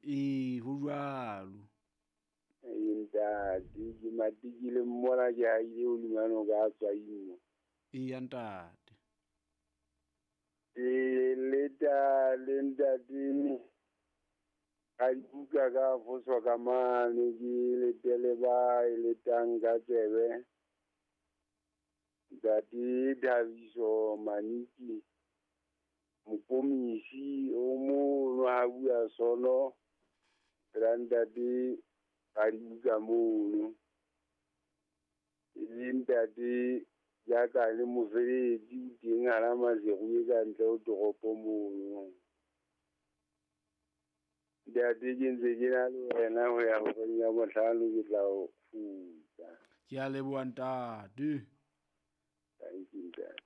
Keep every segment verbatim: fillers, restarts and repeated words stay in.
Ee, ho jwalo. Ee, ntate, ke matikile mmona ke haile hodima noka a tswaimo. Eya ntate. Ee, leta le ntate ka dibuka ka foswa ka mane ke letele ba e letang ka tsebe. Ntate Thabiso Maniki Mokomisi o mono ha bua sono pela ntate ka dibuka mono. E le ntate ya ka le mofeletsi o teng hara Maseru e ka ntle ho toropo mono. Ntate ke ntse ke na le wena ho ya horeng ya bohlano ke tla o kgutla. Ke a leboha ntate. Thank you, ntate.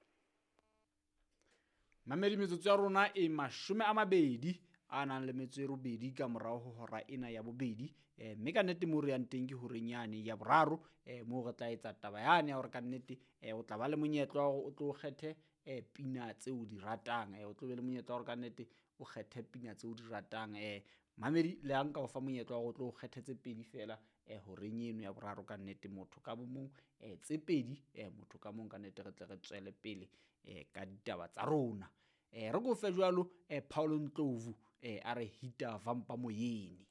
Mamedi, metsotso ya rona e mashome a mabedi a nang le metso e robedi ka morao ho hora ena ya bobedi. Eh, mme ka nnete moo re yang teng ke horeng yane ya boraro, eh, moo re tla etsa taba yane ya hore ka nnete, eh, o tla ba le monyetla wa hore o tlo kgethe, eh, pina tseo o di ratang. Eh, o tlo be le monyetla wa hore ka nnete o kgethe pina tseo o di ratang. Eh, mamedi, le ha nka o fa monyetla wa hore o tlo kgethe tse pedi feela, eh, horeng eno ya boraro ka nnete motho ka bo mong, eh, tse pedi, eh, motho ka mong ka nnete re tle re tswele pele, eh, ka ditaba tsa rona. Eh, re ko fe jwalo, eh, Paulo Ndlovu, eh, a re hita vampa moyeni.